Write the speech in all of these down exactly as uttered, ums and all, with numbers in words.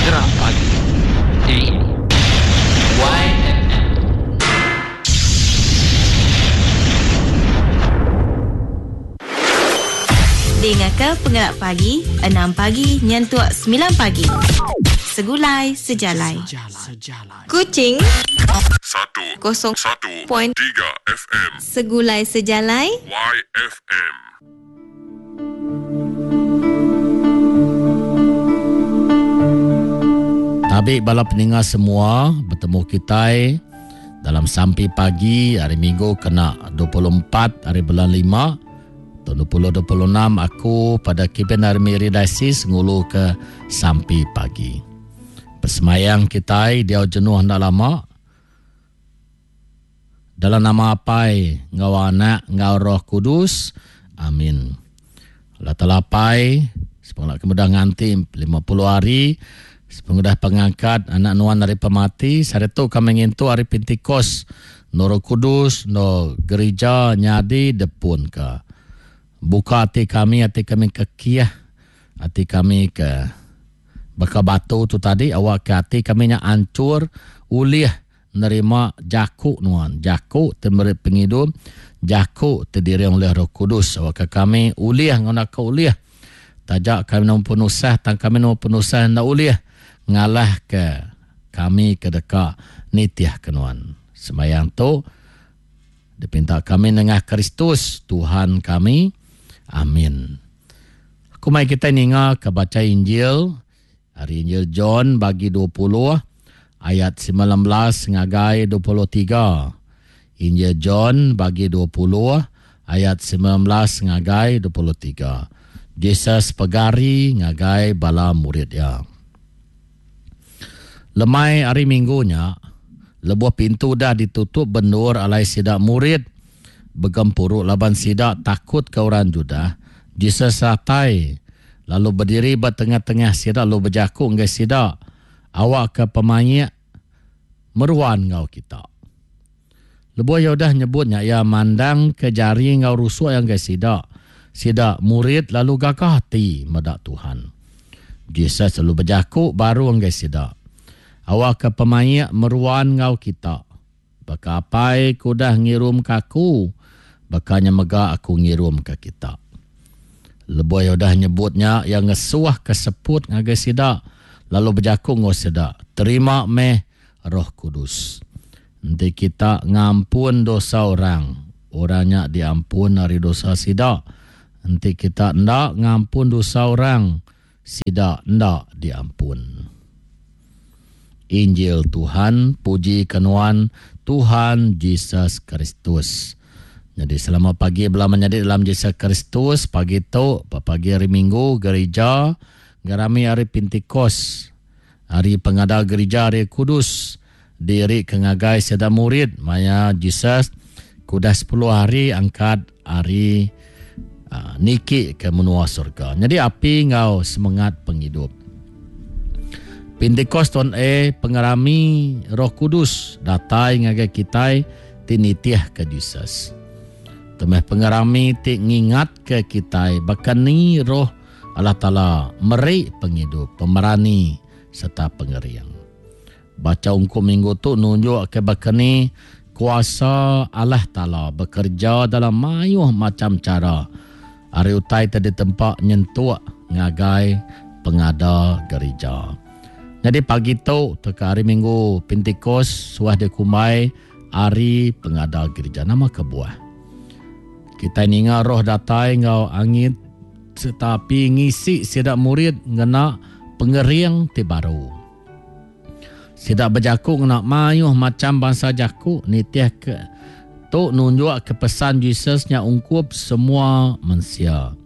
Gerak Pagi di Y F M. Dengarkan Pengerak Pagi enam pagi nyentuk sembilan pagi. Segulai sejalai. Sejalai. Kuching satu kosong satu point tiga F M. Segulai sejalai Y F M. Tabi bala peninga semua, bertemu kita dalam sampi pagi hari Minggu kena dua puluh empat hari bulan lima tahun dua ribu dua puluh enam. Aku pada Kipen Army Diocese ngulu ke sampi pagi. Persemayang kita dia jenuh ndak lama. Dalam nama Apai, ngau Anak, ngau Roh Kudus. Amin. Allah Taala Apai, sepengudah kemudah nganti lima puluh hari, sepengudah pengangkat anak nuan dari pemati, sehari tu kami ngintu hari Pentikos, no Roh Kudus, no gereja nyadi depun ke. Buka hati kami, hati kami ke kiah, hati kami ke baka batu tu tadi, awak ke hati kami nya ancur, ulih nerima jaku nuan, jaku te meri penghidup, jaku te diri oleh Roh Kudus. Awak ke kami ulih ngona ke ulih. Tajak kami nom penusah, tang kami nom penusah nda ulih ngalah ke kami ke deka nitiah ke nuan. Sembayang tu dipinta kami nengah Kristus Tuhan kami. Amin. Aku mai kita ninga ke baca Injil hari Injil John bagi dua puluh ayat sembilan belas ngagai dua puluh tiga. Injil John bagi dua puluh ayat sembilan belas ngagai dua puluh tiga. Jesus pegari ngagai bala murid dia. Lemai hari Minggunya, lebuh pintu dah ditutup bendur alai sidak murid begempuru laban sidak takut ke orang Judah. Jesus ratai lalu berdiri ba tengah-tengah sidak lalu berjaku ngai sidak, awak ke pemaik meruan ngau kita. Lebuh ya udah nyebutnya, ia mandang ke jari ngau rusuk yang ngai sidak. Sidak murid lalu gagah hati medak Tuhan. Jesus lalu berjaku baru ngai sidak, awak ke pemaik meruan ngau kita. Baka apai ku dah ngirum ke aku, bakanya mega aku ngirum ke kita. Lebuh ya udah nyebutnya, ia ngesuah ke seput ngagai sidak, lalu berjaku ngau sidak, terima meh Roh Kudus. Nanti kita ngampun dosa orang, orangnya diampun dari dosa sidak. Nanti kita ndak ngampun dosa orang, sidak ndak diampun. Injil Tuhan, puji kenuan Tuhan Jesus Kristus. Jadi selamat pagi bela menyadi dalam Jesus Kristus. Pagi tu, pagi hari Minggu, gereja ngerami hari Pentikos, hari pengada gereja hari Kudus, diri ke ngagai seda murid maya Jesus kudah sepuluh hari angkat hari uh, niki ke menua surga. Jadi api ngau semangat penghidup. Pentikos tahun E pengerami Roh Kudus datai ngagai kitai ti nitih ke Jesus. Temeh pengerami ti ngingat ke kitai bakani Roh Allah Taala meri penghidup, pemerani serta pengeriang. Baca ungkup minggu tu nunjuk ke bakani kuasa Allah Taala bekerja dalam mayuh macam cara. Hari utai tadi tempat nyentuk ngagai pengada gereja. Jadi pagi tu teka hari Minggu Pentikos suah dikumbai hari pengada gereja. Nama kebuah. Kita ninga roh datai ngau angin tetapi ngisi sidak murid ngena pengering ti baru. Sidak berjaku ngena mayuh macam bangsa jaku nitih ke tu nunjuk ke pesan Jesus nya ungkup semua manusia.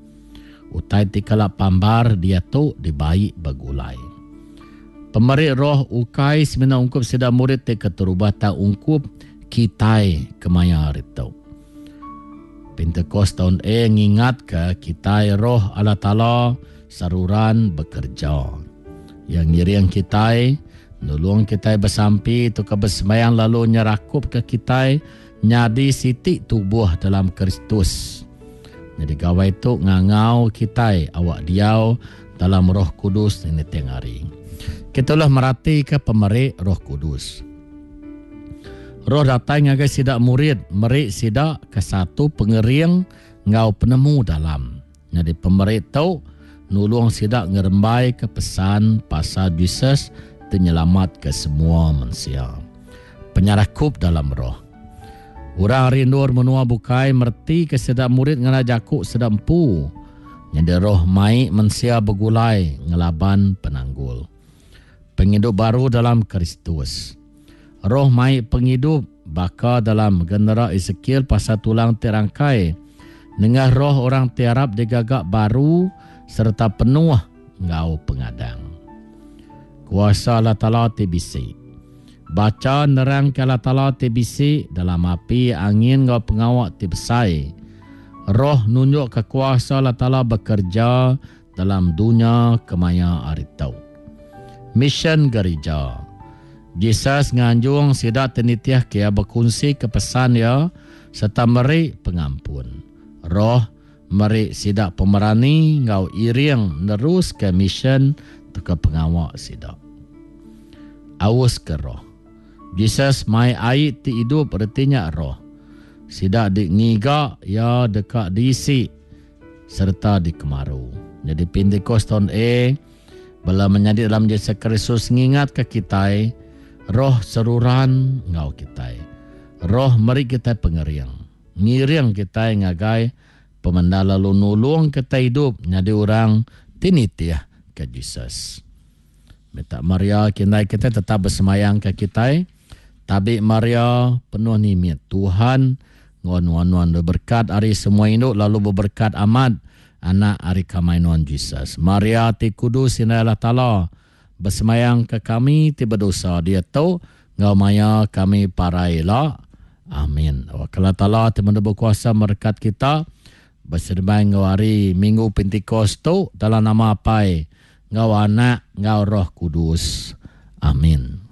Utai ti kala pambar dia tu dibaik begulai. Pemeri roh ukai semina ungkup sidak murid ti keterubah tak ungkup kitai kemaya hari tu. Pentecost tahun E ngingat ke kitai roh Allah Taala saruran bekerja. Yang ngiring kitai, nulung kitai bersampi tu ke bersemayang lalu nyerakup ke kitai nyadi siti tubuh dalam Kristus. Jadi gawai tu ngangau kitai awak diau dalam Roh Kudus ini tiang hari. Kita lah merati ke pemeri Roh Kudus. Roh datang ngagai sidak murid, meri sidak ke satu pengering ngau penemu dalam. Jadi pemeri tu nulung sidak ngerembai ke pesan pasal Jesus penyelamat ke semua manusia. Penyerakup dalam roh. Orang rindur menua bukai merti ke sidak murid ngena jakuk sidak empu. Jadi roh mai manusia bergulai ngelaban penanggul. Penghidup baru dalam Kristus. Roh mai penghidup baka dalam genera Ezekiel pasal tulang terangkai. Nengah roh orang tiarap digagak baru serta penuh ngau pengadang. Kuasa Allah Ta'ala ti bisi. Baca nerang ke Allah Ta'ala ti bisi dalam api angin ngau pengawak ti besai. Roh nunjuk ke kuasa Allah Ta'ala bekerja dalam dunia kemaya hari tau. Mission gereja. Jesus nganjung sidak tenitiah kia berkongsi ke pesan ya serta meri pengampun. Roh meri sidak pemerani ngau iring nerus ke mission ke pengawak sidak. Aus ke roh. Jesus mai air ti hidup ertinya roh. Sidak di ngiga ya dekat diisi serta dikemaru. Jadi Pentecost tahun A bala menyadi dalam Yesus Kristus ngingat ke kitai roh seruran ngau kitai. Roh meri kita pengeriang. Ngiring kitai ngagai pemendala lalu nulung kita hidup nyadi orang tinitiah ke Jesus. Minta Maria kindai kita tetap bersemayang ke kitai. Tabi Maria penuh nimit Tuhan ngon-nuan berkat hari semua induk lalu berberkat amat anak hari kamainuan Jesus. Maria ti kudus inai Allah Ta'ala bersemayang ke kami ti berdosa dia tu ngau maya kami paraila. Amin. Allah Ta'ala ti mendebu kuasa merekat kita berserbai ngau hari Minggu Pentecost tu dalam nama Apai ngau Anak ngau Roh Kudus. Amin.